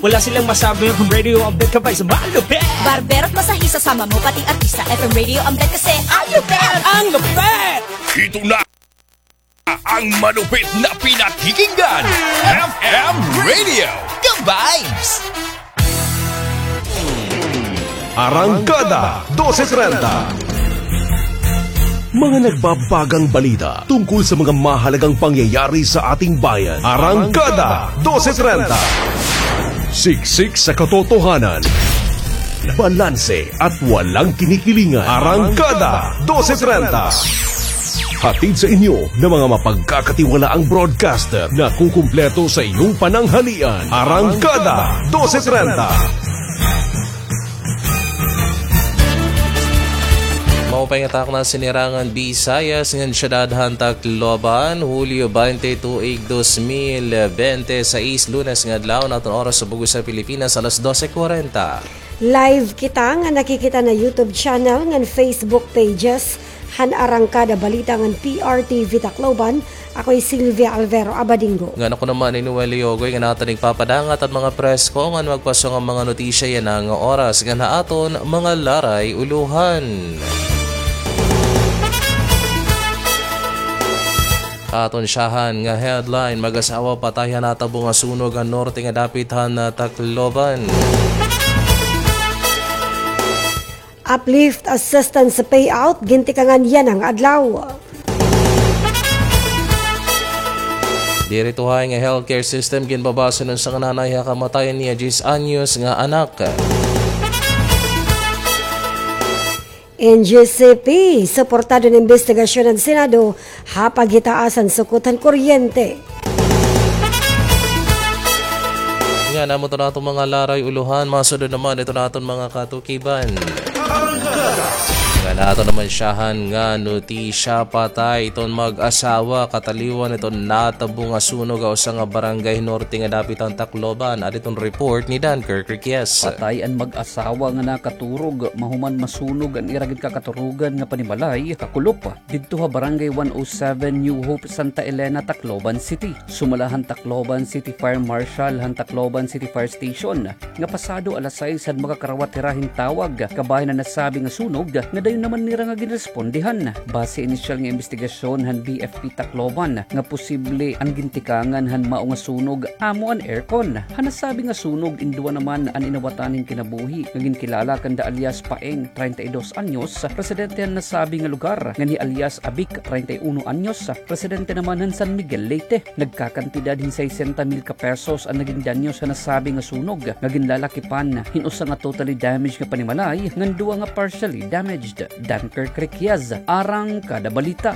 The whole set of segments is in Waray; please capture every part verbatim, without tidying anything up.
Wala silang masabi, F M Radio ang bet ka ba sa malupit. Barbero at masahista, sama mo pati artista, F M Radio ang bet kasi ang lupit. Ang lupit! Ito na ang malupit na pinakikinggan. F M Radio, the vibes! Arangkada dose trenta. Mga nagbabagang balita tungkol sa mga mahalagang pangyayari sa ating bayan. Arangkada dose trenta. Siksik sa katotohanan, balanse at walang kinikilingan. Arangkada dose trenta. Hatid sa inyo ng mga mapagkakatiwalaang broadcaster na kukumpleto sa iyong pananghalian. Arangkada dose trenta. Maupay nga takna sinirangan Visayas ngan syudad han Tacloban, Hulyo baynte, tuig dos mil bente sais, Lunes nga adlaw, an aton oras sa bug-os ha Pilipinas, alas dose kwarenta. Live kita nga nakikita na YouTube channel ngan Facebook pages han Arangkada Balita ngan P R T V Tacloban. Ako hi Sylvia Alvero Abadingo. Ngan ako naman hi Noel Leogoy nga aton igpapadangat an mga presko ngan magpasong nga mga notisya yana nga oras ngan ha aton mga laray ulohan. Aton syahan nga headline, mag-asawa patay han natabo nga sunog han norte nga dapit han, ah, Tacloban. Uplift assistance payout, gintikangan yana nga adlaw. Diri tuhay nga healthcare system, ginbabase han usa nga nanay ha kamatayan niya diyes anyos nga anak. N G C P, suportado an imbestigasyon han Senado ha paghitaas han sukot han kuryente. Ngan amo iton aton mga laray ulohan, masunod naman iton aton mga katukiban. Ngan aton naman syahan nga notisya, patay iton mag-asawa kataliwan iton natabo nga sunog ha usa nga barangay norte nga dapit han Tacloban. Adi iton report ni Dunkirk Riquez. Patay an mag-asawa nga nakaturog mahuman masunog an ira ginkakaturogan nga panimalay, kakulop, didto ha Barangay one oh seven New Hope, Santa Elena, Tacloban City. Sumala han Tacloban City Fire Marshal han Tacloban City Fire Station nga pasado alas sais han makakarawat hira hin tawag kabahin han nasabi nga sunog nga dayon naman nira nga ginrespondihan. Base inisyal nga imbestigasyon han B F P Tacloban nga posible an gintikangan han mao nga sunog amo an aircon. Han nasabi nga sunog, induwa naman an inawatan hin kinabuhi nga ginkilala kanda alias Paeng, treinta y dos anyos, residente han nasabi nga lugar, ngan hi alias Abic, treinta y uno anyos, residente naman han San Miguel, Leyte. Nagkakantidad hin sesenta mil ka pesos an naging danyos han nasabi nga sunog, nga ginlalakipan hin usa nga totally damaged nga panimalay ngan duwa nga partially damaged. Dunkirk Riquez, Arangkada Balita.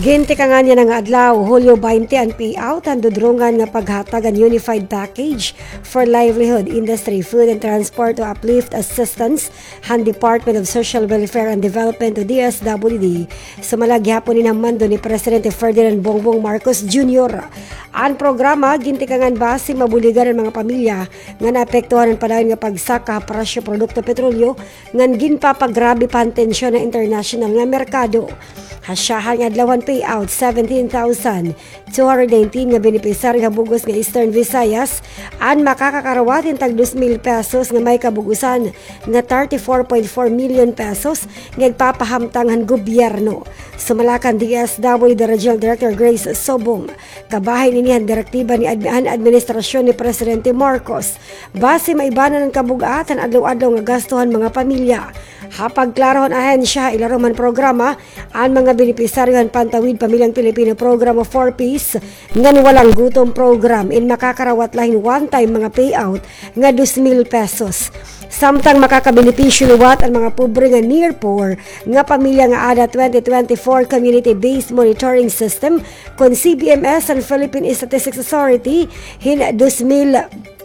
Gintikangan yana nga adlaw, Hulyo baynte, an payout han dudrongan nga paghatag han Unified Package for Livelihood, Industry, Food and Transport o uplift assistance han Department of Social Welfare and Development o D S W D. Sumala gihapon ini han mando ni Presidente Ferdinand Bongbong Marcos Junior. An programa gintikangan basi mabuligan an mga pamilya nga naapektuhan han padayon nga pagsaka ha presyo produkto petrolyo ngan ginpapagrabe pa han tensyon ha internasyonal nga merkado. Ha syahan nga adlaw han payout, seventeen thousand two hundred nineteen nga benepisyaryo ha bug-os nga Eastern Visayas an makakakarawat hin tag dos mil pesos nga may kabug-osan nga thirty-four point four million pesos nga igpapahamtang han gobyerno. Sumala kan D S W D Regional Director Grace Sobong, kabahin ini han direktiba ni admi-, han administrasyon ni Presidente Marcos. Basi maibanan an kabug-at han adlaw-adlaw nga gasto han mga pamilya. Ha pagklaro han ahensya, ilarom han programa, an mga benepisyaryo han Pantawid Pamilyang Pilipino Program o four Ps ngan Walang Gutom Program in makakarawat la hin one-time mga payout nga dos mil pesos. Samtang makakabenepisyo liwat an mga pobre nga near poor nga pamilya nga ada twenty twenty-four Community-Based Monitoring System kon C B M S han Philippine Statistics Authority hin dos mil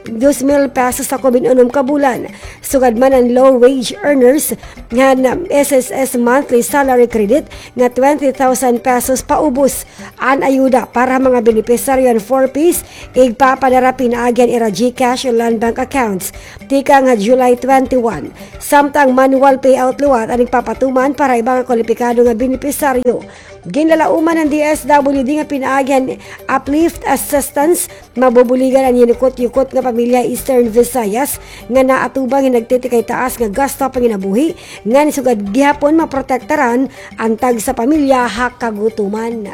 dos mil pesos ha kumbinunom ka bulan. Sugad man an low wage earners, han S S S monthly salary credit nga twenty thousand pesos paubos. An ayuda para ha mga benepisaryo han four Ps, igpapadara pinaagi han ira GCash o Land Bank accounts tikang ha July twenty-one. Samtang manual payout liwat an igpapatuman para iba nga kwalipikado nga benepisaryo. Ginlalauman han D S W D nga pinaagi han uplift assistance, mabubuligan an yinukot-yukot nga pamilya Eastern Visayas nga naatubang hin nagtitikay taas nga gasto ha panginabuhi, ngan sugad gihapon maprotektaran an tagsa pamilya ha kagutuman.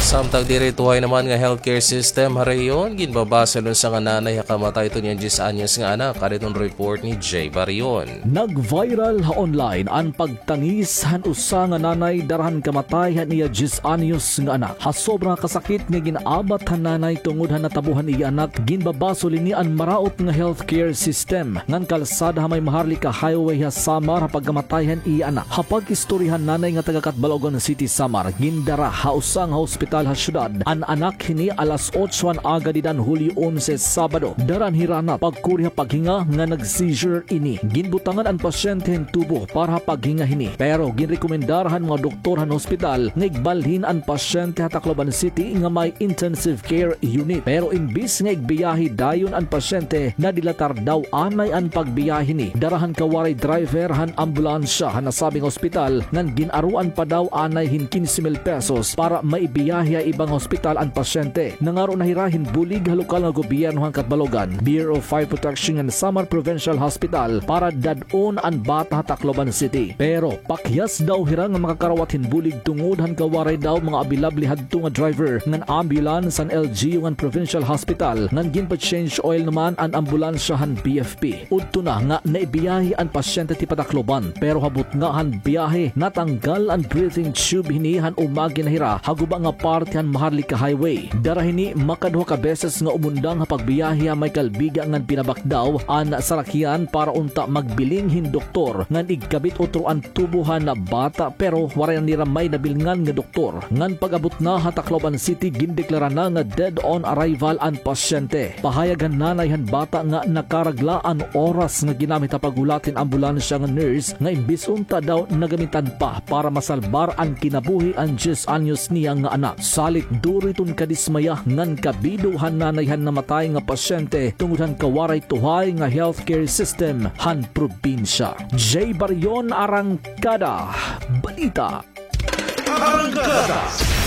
Samtang diri tuhay naman nga healthcare system ha rehiyon, ginbabasol an usa nga nanay ha kamatay hiton iya diyes anyos nga anak. Adi iton report ni Jay Barion. Nag-viral ha online an pagtangis han usa nga nanay dara han kamatay han iya diyes anyos nga anak. Ha sobra nga kasakit nga gin-abat han nanay tungod han natabo han iya anak, ginbabasol ini an maraot nga healthcare system ngan kalsada ha may Maharlika Highway ha Samar ha pagkamatay han iya anak. Ha pag-istorya han nanay nga taga Catbalogan City, Samar, gindara ha usa nga hospital ha syudad an anak hini alas otso han aga dida han Hulyo onse, Sabado. Dara an hirana pagkuri ha paghinga nga nag-seizure ini. Ginbutangan an pasyente hin tubo para ha paghinga hini, pero ginrekomendar han mga doktor han hospital nga igbalhin an pasyente ha Tacloban City nga may intensive care unit. Pero imbis nga igbiyahe dayon an pasyente, nadilatar daw anay an pagbiyahe hini. Dara han kawaray driver han ambulansya han nasabing ospital ngan gin-aruan pa daw anay hin kinse mil pesos para maibiyahe ha iba nga ospital an pasyente. Nangaro na hira hin bulig ha lokal nga gobyerno han Catbalogan, Bureau of Fire Protection ngan Samar Provincial Hospital para dad-on an bata ha Tacloban City. Pero pakyas daw hira nga makakarawat hin bulig tungod han kawaray daw mga abilable hadto nga driver ngan ambulance han L G U ngan Provincial Hospital, ngan ginpa-change oil naman an ambulansya han B F P. Udto na nga naibiyahe an pasyente tipa Tacloban, pero ha butnga han biyahe, natanggal an breathing tube hini han umagi na hira ha guba nga parte han Maharlika Highway. Dara hini makaduha ka beses nga umundang ha pagbiyahe ha may Calbiga ngan pinabakdaw an sarakyan para unta magbiling hin doktor ngan igkabit utro an tubo han bata, pero waray na nira may nabilngan nga doktor. Ngan pag-abot na ha Tacloban City, gindeklara na nga dead on arrival an pasyente. Pahayag han nanay han bata nga nakaragla an oras nga ginamit ha paghulat hin ambulansya nga nurse, nga imbis unta daw nagamitan pa para masalbar an kinabuhi an diyes anyos niya nga anak. Salit duro iton kadismaya ngan kabido han nanay han namatay nga pasyente tungod han kawaray tuhay nga healthcare system han probinsya. Jay Barion, Arangkada Balita.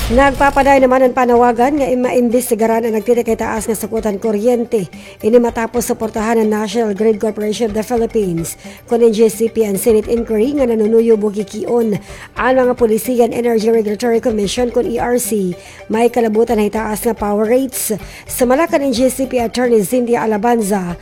Nagpapadayon naman an panawagan nga maimbestigaran an nagtitikay taas nga sukot han kuryente. Ini matapos suportahan han National Grid Corporation of the Philippines kon N G C P an Senate inquiry nga nanunuyo bukikion an mga polisiya han Energy Regulatory Commission kon E R C, may kalabutan ha itaas nga power rates. Sumala kan N G C P Attorney Cynthia Alabanza,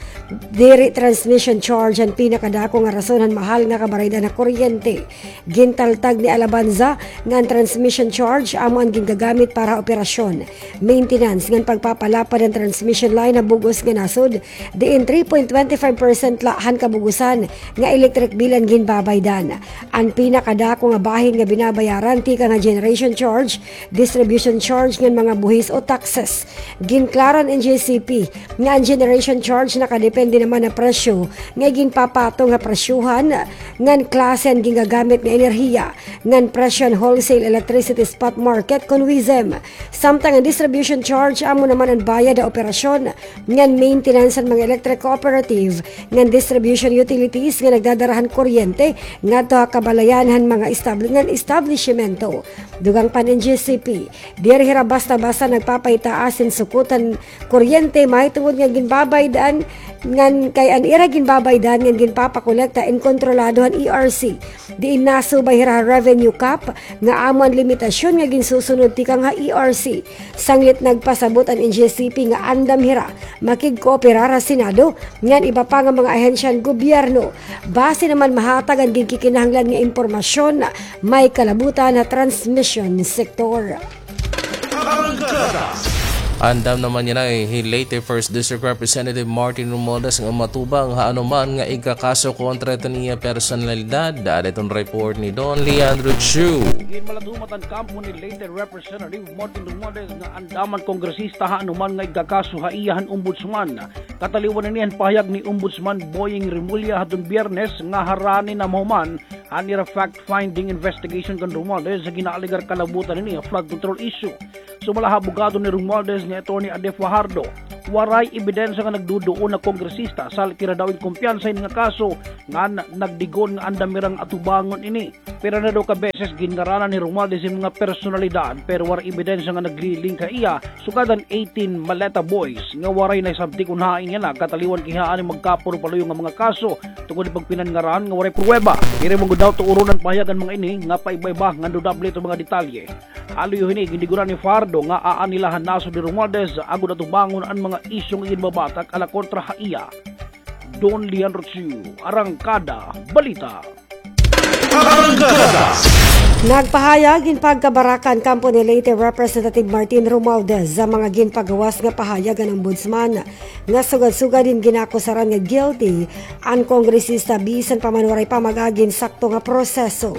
diri transmission charge an pinakadako nga rason han mahal nga kabaraydan ha kuryente. Gintaltag ni Alabanza nga an transmission charge amo an gingagamit para ha operasyon, maintenance, ngan pagpapalapad han transmission line ha bug-os nga nasod, diin three point twenty five percent la han kabug-osan nga electric bill an ginbabaydan. An pinakadako nga bahin nga binabayaran tikang ha generation charge, distribution charge ngan mga buhis o taxes. Ginklaro han N G C P nga an generation charge nakadepende naman ha presyo nga iginpapatong ha presyohan ngan klase han gingagamit nga enerhiya ngan presyo han wholesale electricity spot market kon WESM. Samtang an distribution charge amo naman an bayad ha operasyon ngan maintenance han mga electric cooperative ngan distribution utilities nga nagdadara han kuryente ngadto ha kabalayan han mga establi-, ngan establisyemento. Dugang pa han N G C P, diri hira basta-basta nagpapaitaas hin sukot han kuryente mahitungod nga ginbabaydan ngan kay an ira ginbabaydan ngan ginpapakolekta in kontrolado han E R C. Diin nasubay hira ha revenue cap nga amo an limitasyon nga ginsusunod tikang ha E R C. Sanglit nagpasabot an N G C P nga andam hira makigkooperar ha Senado ngan iba pa nga mga ahensya han gobyerno. Basi naman mahatag an ginkikinahanglan nga impormasyon, may kalabutan ha transmission sector. Arangkada. Andam naman yana hi Leyte First District Representative Martin Romualdez nga matubang ha anuman nga igkakaso kontra hiton iya personalidad. Ada iton report ni Don Leandro Chu. Ginmaladumat an kampo ni Leyte Representative Martin Romualdez nga andaman kongresista ha anuman nga igkakaso ha iya han ombudsman. Kataliwan ini han pahayag ni Ombudsman Boying Remulla hadton Biyernes nga harani na mahuman an ira fact-finding investigation kan Romualdez sa ginaalegar kalabutan ini nga flood control issue. Sumala ha abogado ni Romualdez nga Attorney Ade Fajardo, waray ebidensya nga nagduduon na kongresista, sa halkira daw in kumpiyansa ini nga kaso ngan nagdigon nga andam irang atubangon ini. Pira na daw ka beses ginngaranan ni Romualdez in mga personalidad, pero waray ebidensya nga nagli-link ha iya, sugad han eighteen Maleta Boys nga waray nahisabtik kon hain yana, kataliwan kay hain magkapuro-paluyo nga mga kaso tungod ha pagpinanngaran nga waray pruweba. Diri man gud daw tuuron an pahayag han mga ini nga paiba-iba ngan dudable iton mga detalye. Aluyo hini, gindiguran ni Fajardo nga aanhi la han nasod ni Romualdez agod atubangon an mga isyu nga ginbabatak ala kontra ha iya. Don Leandro Chu, Arangkada Balita. Arangkada. Nagpahayag hin pagkabaraka an kampo ni Leyte Representative Martin Romualdez sa mga ginpagawas nga pahayag han Ombudsman nga sugad-sugad hin ginakusaran nga guilty an kongresista bisan pa man waray pa mag-agi hin sakto nga proseso.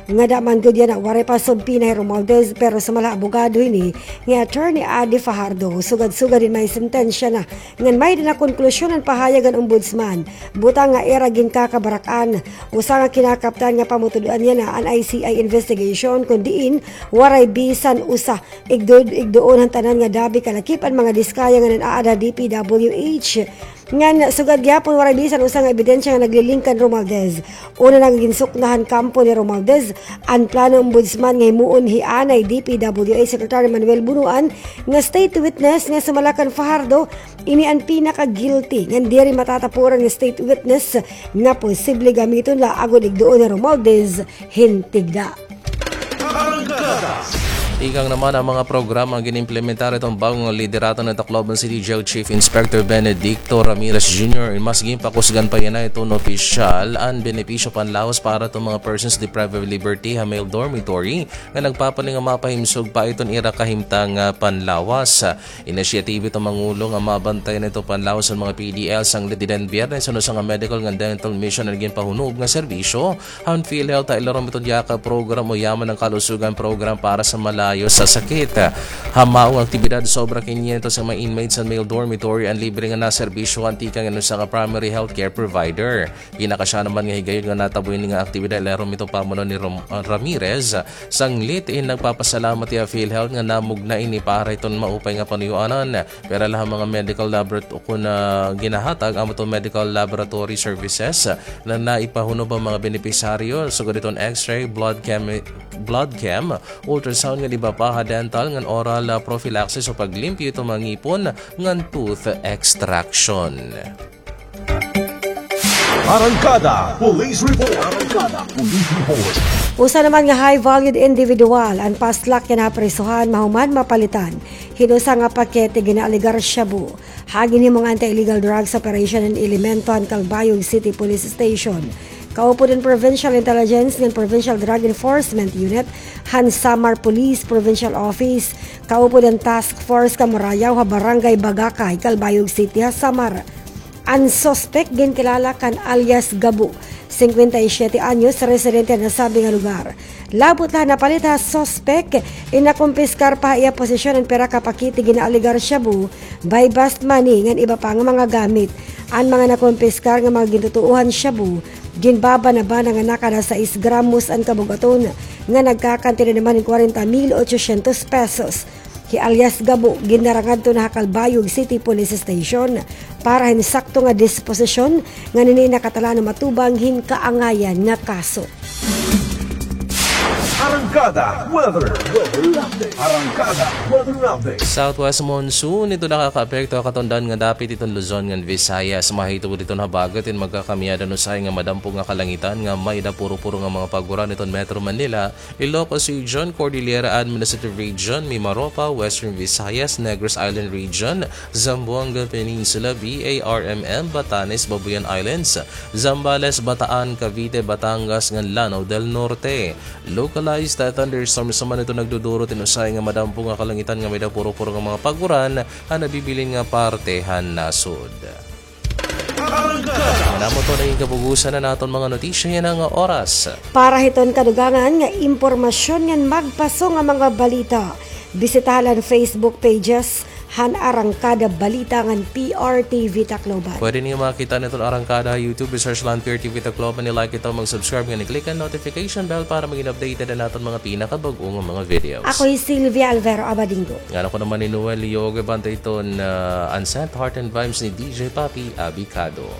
Ngada man gud yana waray pa subpina hi Romualdez, pero sumala ha abogado hini nga Attorney Ade Fajardo, sugad-sugad hin may sentensya na ngan may-ada na konklusyon an pahayag han Ombudsman. Butang nga ira ginkakabarak-an, usa nga kinakaptan nga pamutud-an yana an I C I investigation, kon diin waray bisan usa igdud-, igduon han tanan nga dabi kalakip an mga diskaya nga nan-aada ha D P W H. Ngan sugad gihapon waray bisan usa nga ebidensya nga nagli-link kan Romualdez. Una na nga ginsukna han kampo ni Romualdez an plano Ombudsman nga himuon hi anay D P W H Secretary Manuel Bonoan nga state witness nga sumala kan Fajardo, ini an pinaka-guilty ngan diri matatapuran nga state witness nga posible gamiton la agod igduon ni Romualdez hin tigda. Arangkada. Tikang naman an mga programa nga gin-implementar hiton bag-o nga liderato ni Tacloban City Jail Chief Inspector Benedicto Ramirez Junior, mas ginpakusgan pa yana hiton opisyal an benepisyo panlawas para hiton mga persons deprived of liberty ha male dormitory nga nagpapaningkamot nga mapahimsog pa iton ira kahimtang nga panlawas. Inisyatibo hiton Pangulo nga mabantayan iton panlawas han mga P D L sanglit dida han Biyernes han usa nga medical ngan dental mission an ginpahunob nga serbisyo han PhilHealth ha ilarom hiton YACAP program o Yaman ng Kalusugan program para sa malayo sa sakit. Ha mao nga aktibidad, sobra kinyentos nga mga inmates han male dormitory an libre nga naserbisyohan tikang han usa nga primary healthcare provider. Pinakasya naman nga higayon nga natabo ini nga aktibidad, ilarom hiton pamuno ni Rom-, ah, Ramirez. Sanglit in nagpapasalamat hiya ha PhilHealth nga namugna ini para hiton maupay nga panuyoanan. Pira la ha mga medical laborat-, kon, ah, ginahatag amo hiton medical laboratory services na naipahunob han mga benepisaryo, sugad hiton X-ray, blood chem, blood chem, ultrasound ngan iba pa, ha dental ngan oral, ah, prophylaxis o paglimpyo hiton mga ngipon ngan tooth extraction. Arangkada Police Report. Arangkada Police Report. Usa naman nga high-valued individual an paslak yana ha prisohan mahuman mapalitan hin usa nga pakete ginaalegar shabu. Ha ginhimong anti-illegal drugs operation an elemento han Calbayog City Police Station, kaupod han Provincial Intelligence ngan Provincial Drug Enforcement Unit han Samar Police Provincial Office, kaupod han Task Force Kamurayaw ha Barangay Bagakay, Calbayog City ha Samar. An suspek ginkilala kan alias Gabo, singkwenta y siyete anyos, residente ha nasabi nga lugar. Labot la ha napalit ha suspek, in nakumpiskar pa ha iya posesyon an pira ka pakete ginaalegar shabu, buy-bust money, ngan iba pa nga mga gamit. An mga nakumpiskar nga mga gintutuohan shabu, ginbabana-bana nga nakada sais gramos an kabug-aton, nga nagkakantidad naman hin kwarenta mil ochocientos pesos. Hi alias Gabo, ginara ngadto na ha Calbayog City Police Station para hin sakto nga disposisyon, ngan ini nakatala nga matubang hin kaangayan nga kaso. Arangkada Weather. Arangkada Weather Update. Southwest monsoon, ito nakakaapekto ha katundan nga dapit iton Luzon ngan Visayas. Mahitungod iton habagat in magkakamiyadan usahay nga madampog nga kalangitan nga may-ada puro-puro nga mga paguran iton Metro Manila, Ilocos Region, Cordillera Administrative Region, Mimaropa, Western Visayas, Negros Island Region, Zamboanga Peninsula, B A R M M, Batanes, Babuyan Islands, Zambales, Bataan, Cavite, Batangas, ngan Lanao del Norte. Localized Thunderstorms naman ito nagduduro, tinusay nga madampo nga kalangitan nga may da puro-puro nga mga pag-uran han nabibilin nga parte han nasod. Namo to na it kabugusan han aton mga notisya yana nga oras. Para hiton kadugangan nga impormasyon ngan magpaso nga mga balita, bisitaha la an Facebook pages han Arangkada Balita ngan P R T V Tacloban. Pwede niyo makita an aton Arangkada ha YouTube, i-search la an P R T V Tacloban, i-like ito, mag-subscribe ngan i-click an notification bell para magin updated an aton mga pinakabag-o nga mga videos. Ako hi Sylvia Alvero Abadingo. Ngan ako naman hi Noel Leo, gabanta iton, ah, Unsent Heart and Vibes ni D J Papi Abicado.